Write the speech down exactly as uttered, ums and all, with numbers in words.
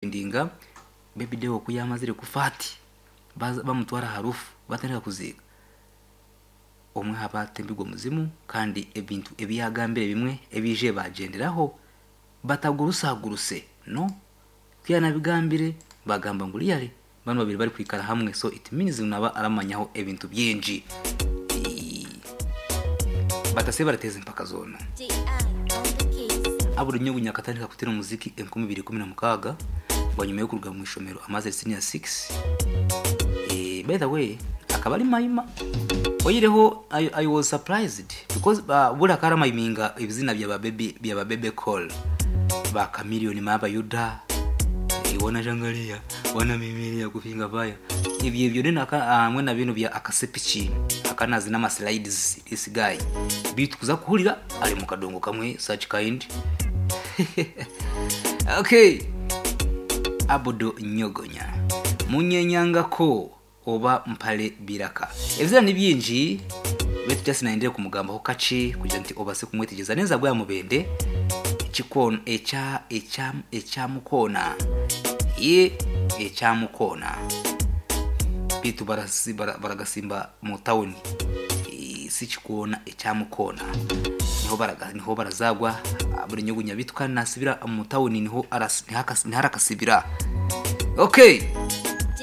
Ndinga Baby Deo ku yamazire kufa ati baza- bamutwara aha rufu, batandika kuziika omwe haba atembirwe omuzimu, kandi ebintu ebi yagambire bimwe ebije bagyenderaho batagurusaguruse no kuyanabigambire bagamba ngu really bano babiri bari kwikara hamwe, so it means naba aramanyaho ebintu byingi. Eh, batase barateza empaka zona. J I on the case. Abura Nyugunya akatandika kutera omuziki enkumi ibiri ikumi na mukaaga bwanyuma yokuruga mu ishomero amaze senior six. eh, by the way, akaba ari mayima oyireho. I, I was surprised because uh, buri akaramayiminga ebizina bya baby bya Bebe Cool, ba Chameleone, maba Yuda, eh, wana jangalia wana mimilia kufinga baya ibyo ibyo nina hamwe na bino bya akasepiki akanazi n'ama slides. This guy bitu kuza kuhurira ari mu kadongo kamwe such kind. Okay, Abudo Nyogonya munyenyangako oba mpale biraka ebizira ni byingi betu just naendere kumugambaho kachi kugira nti obase kumwetegeza neza bwa mubende ekikono ekya ekya ekyamukona ye ekyamukona bitu barasi- bara- baragasimba mu tawuni. Eh, si kikona ekyamukona niho baraga niho barazagwa. Ah, buri nyugunya bitu kandi nasibira mu tawuni niho aras- niho akas- niho arakasibira. Okay.